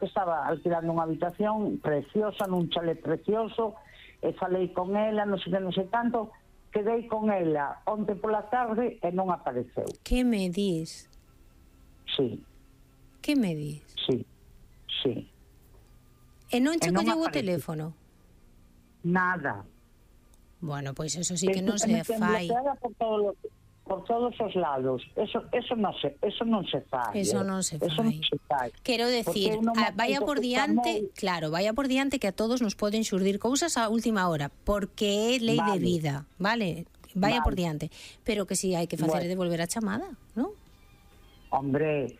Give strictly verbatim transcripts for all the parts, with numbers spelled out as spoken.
que estaba alquilando unha habitación preciosa, nun chalet precioso, e falei con ela, non sei que, non sei tanto, quedei con ela onte pola tarde e non apareceu. Que me dis? Sí. Que me dis? Sí, sí. E non che E non colleu o aparece. teléfono? Nada. Bueno, pois eso sí que non Eso se me ten fai. bloqueada por todos por todos os lados. Eso eso non se eso non se fai. Eso eh. non se Eso non fai. se fai. Quero decir, Porque a, vaya por diante, chamou... claro, vaya por diante que a todos nos poden xurdir cousas a última hora, porque é lei vale. de vida, vale? Vaya vale. por diante, pero que si hai que facer bueno. é devolver a chamada, non? Hombre,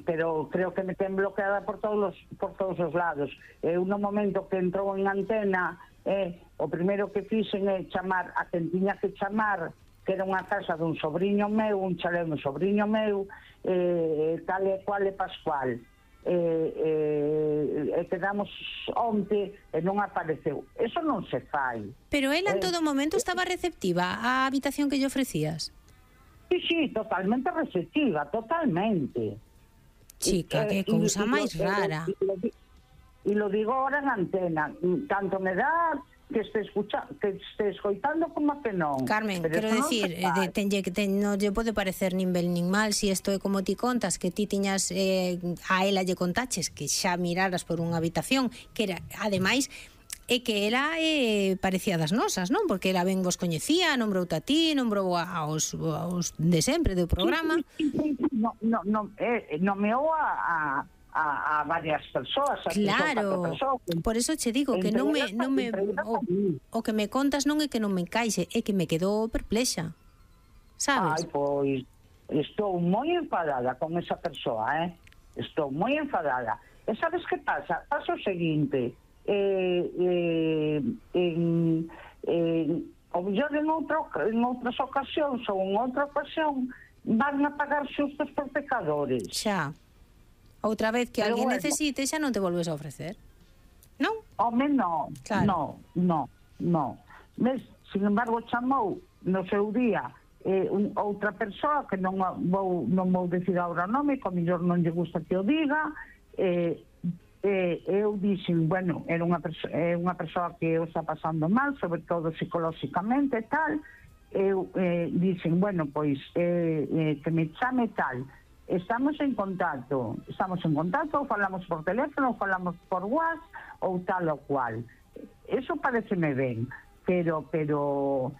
pero creo que me ten bloqueada por todos os, por todos os lados. Eu no momento que entrou en antena, eh, o primeiro que fixen é chamar a quen tiña que chamar, que era unha casa dun sobriño meu, un chalé dun sobriño meu, eh, tal e cual e pascual. Eh, eh, e quedamos onte e non apareceu. Eso non se fai. Pero ela en Eh, todo momento estaba receptiva á habitación que lle ofrecías? Sí, sí, totalmente receptiva, totalmente. Chica, que cousa máis rara. E lo digo ahora en antena, tanto me dá que este escucha, que este escoitando como que non. Carmen, pero quero decir, no de, tenlle que ten, non lle pode parecer nin ben nin mal si isto é como ti contas, que ti tiñas eh, a ela lle contaches que xa miraras por unha habitación, que era, ademais, é que ela eh, parecía das nosas, non? Porque ela ben vos coñecía, nombrou a ti, nombrou aos, aos de sempre do programa. Sí, sí, sí, no, no, no, eh, nomeou a, a, a varias persoas. A claro, persoas, por eso che digo que non me, non me o, o que me contas non é que non me encaixe, é que me quedou perplexa, sabes? Ai, pois, estou moi enfadada con esa persoa, eh? Estou moi enfadada. E sabes que pasa? Pasa o seguinte... Eh, eh, en, en, o mellor en, outro, en outras ocasións ou en outra ocasión van a pagar xustos por pecadores. Xa. Outra vez que Pero alguén bueno, necesite xa non te volves a ofrecer, non? Home, non, claro. non, non, non. Mes, sin embargo, chamou no seu día eh, un, outra persoa que non vou, non vou decir agora o nome, que o mellor non lle gusta que o diga, eh, Eh, eu dixen, bueno, era unha, perso eh, unha persoa que eu está pasando mal, sobre todo psicolóxicamente e tal. Eu eh, dixen, bueno, pois eh, eh, que me chame tal, estamos en contacto estamos en contacto, ou falamos por teléfono ou falamos por WhatsApp ou tal ou cual. Eso pareceme ben, pero pero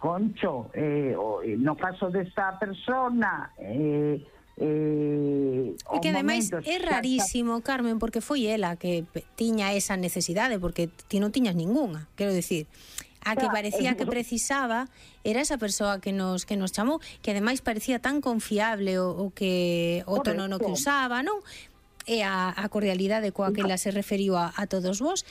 concho, eh, no caso desta persona, eh, Eh, e que ademais é rarísimo, Carmen, porque foi ela que tiña esa necesidade, porque ti non tiñas ningunha, quero decir, a que parecía que precisaba era esa persoa que nos que nos chamou, que ademais parecía tan confiable o, o que o tono no que usaba, non? E a, a cordialidade coa que ela se referiu a, a todos vos,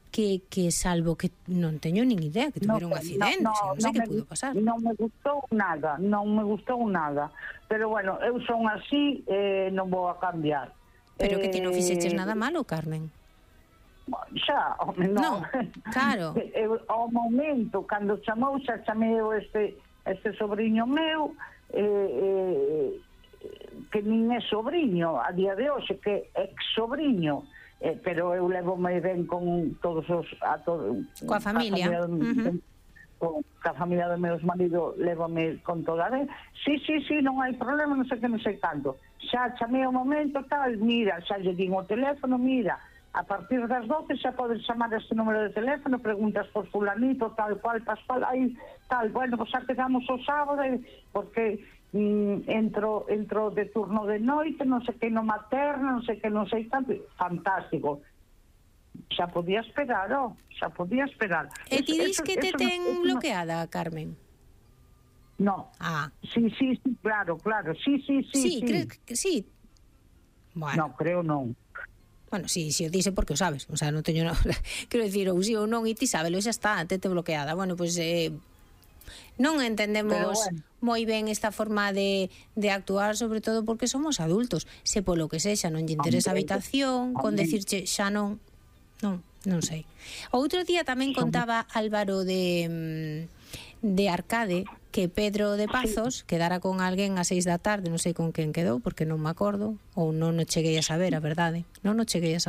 que, que salvo que non teño nin idea que tuvera no, un accidente, no, no, non sei no que pudo pasar. Non me gustou nada, non me gustou nada. Pero bueno, eu son así, eh, non vou a cambiar. Pero eh, que ti non fixeches nada malo, Carmen. Xa, home, non. No, claro. Eu, ao momento, cando chamou, xa chameu este, este sobrinho meu, eh, eh, que nin é sobrinho a día de hoxe, que é ex-sobrinho, eh, pero eu levo moi ben con todos os... A todo, coa familia. A familia uh-huh. Con a familia do meus marido levome con toda a vez. Sí, sí, sí, non hai problema, non sei que, non sei tanto. Xa chamei o momento, tal, mira, xa lle din o teléfono, mira, a partir das doce xa podes chamar este número de teléfono, preguntas por fulanito, tal cual, pascual, aí, tal, bueno, pues xa quedamos o sábado, porque mm, entro, entro de turno de noite, non sei que no materno, non sei que non sei tanto, fantástico. Xa podía esperar, oh, xa podía esperar. E ti dis que te ten no, bloqueada, no... Carmen? No. Ah. Sí, sí, sí, claro, claro, sí, sí, sí. Sí, sí. crees que sí? Bueno. No, creo non. Bueno, sí, sí, o dice porque o sabes, o sea, non teño nada. Quero dicir, ou sí ou non, e ti sábelo, xa está, te te bloqueada. Bueno, pois pues, eh, non entendemos bueno. moi ben esta forma de, de actuar, sobre todo porque somos adultos. Se polo que sexa non lle interesa a habitación, con decirche xa non, non, non sei. Outro día tamén contaba Álvaro de de Arcade que Pedro de Pazos quedara con alguén ás seis da tarde, non sei con quen quedou, porque non me acordo, ou non o cheguei a saber, a verdade. Non o cheguei a saber.